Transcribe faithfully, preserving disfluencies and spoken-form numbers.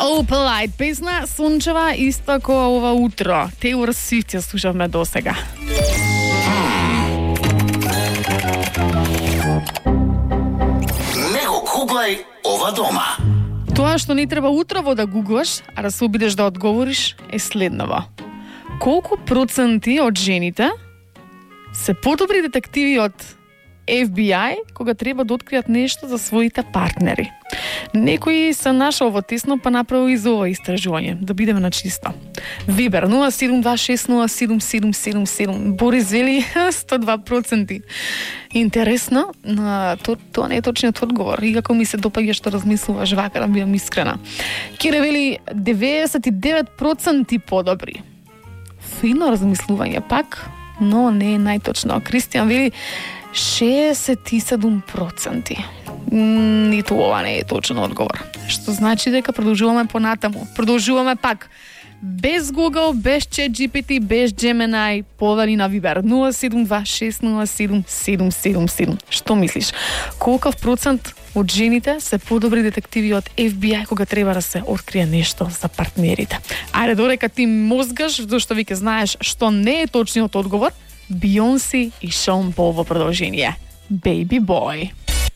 Opalite, песна сончева исто како ова утро. Taylor Swift ја слушавме досега. Не го гуглај ова дома. Тоа што не треба утрово да гуглаш, а да се обидеш да одговориш, е следново. Колку проценти од жените се подобри детективи од Ф Би Ај кога треба да откријат нешто за своите партнери? Некои се нашол во тесно па направил и за ова истражување, да бидеме на чисто. Вибер нула седум два шест нула седум седум седум седум. Борис вели сто и два проценти. Интересно, но то, тоа не е точниот одговор. И како ми се допаѓа што размислуваш вака, да бидам искрена. Кире вели деветдесет и девет проценти подобри. Фино размислување пак, но не е најточно. Кристијан вели шеесет и седум проценти. Ниту ова не е точен одговор. Што значи дека продолжуваме понатаму. Продолжуваме пак. Без Google, без ChatGPT, без Gemini, повели на Viber нула седум два шест нула седум седум седум седум. Што мислиш? Колков процент од жените се подобри детективи од Ф Би Ај кога треба да се открие нешто за партнерите? Ајде, додека ти мозгаш, зашто веќе знаеш што не е точниот одговор, Бейонсе и Шон Пол во продолжение. Baby Boy.